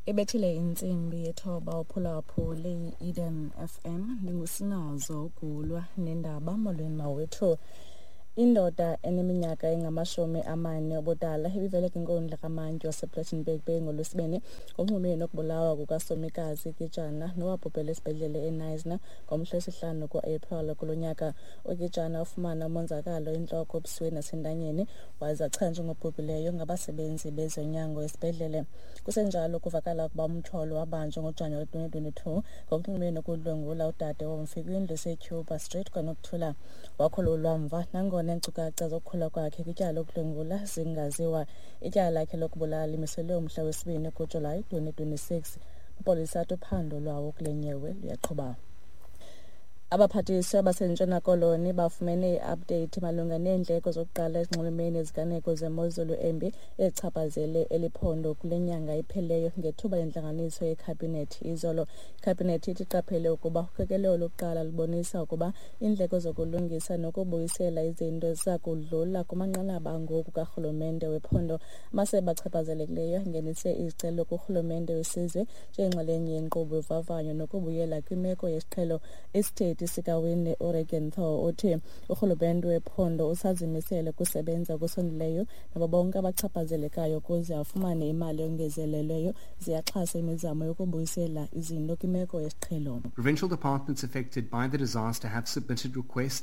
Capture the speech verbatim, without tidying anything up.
Ibethile intsimbi yethoba uphulaphule i-Eden F M. Ndingusinazo Gulwa nendaba. Molweni mawethu. Indoda eneminyaka engamashumi amane ubudala ibivele kwinkundla kamantyi wasePlettenberg Bay ngoLwesibini ngokunxulumene nokubulawa kukaSomikazi Gijana, nowabhubhela esibhedlele eKnysna ngomhla wesihlanu kuApril kulo nyaka. UGijana ufumana umonzakalo entloko, ebusweni nasentanyeni, waze achanjwe ngobhubhileyo ngabasebenzi bezonyango esibhedlele. Kusenjalo, kuvakala ukuba umtyholwa wabanjwa ngoJanuwari twenty twenty-two ngokunxulumene nokudlwengula udade womfi kwindlu eseCuba Street KwaNokuthula. Wakhululwa mva, nangona iinkcukacha zokukhululwa kwakhe kwityala lokudlwengula zingaziwa. Ityala lakhe lokubulala limiselwe umhla wesibini kuJulayi twenty twenty-six. Amapolisa athi uphando lwawo kule nyewe luyaqhuba. Abaphathiswa baseNtshona Koloni bafumene i-update malunga neendleko zokuqala ezinxulumene neziganeko zemozulu embi ezichaphazele eli phondo kule nyanga iphelileyo ngethuba lentlanganiso yekhabhinethi izolo. Ikhabhinethi ithi iqaphele ukuba uqikelelo lokuqala lubonisa ukuba iindleko zokulungisa nokubuyisela izinto ziza kudlula kumanqanaba angoku karhulumente wephondo. Amasebe achaphazelekileyo angenise izicelo kurhulumente wesizwe njengenxalenye yenkqubo yovavanyo nokubuyela kwimeko yesiqhelo. Isithethi sikaWinde uRegenthal uthi urhulumente wephondo usazimisele ukusebenza okusondeleyo nabo bonke abachaphazelekayo ukuze afumane imali eyongezelelweyo ziyaxhasa imizamo yokubuyisela izinto kwimeko yesiqhelo. Provincial departments affected by the disaster have submitted requests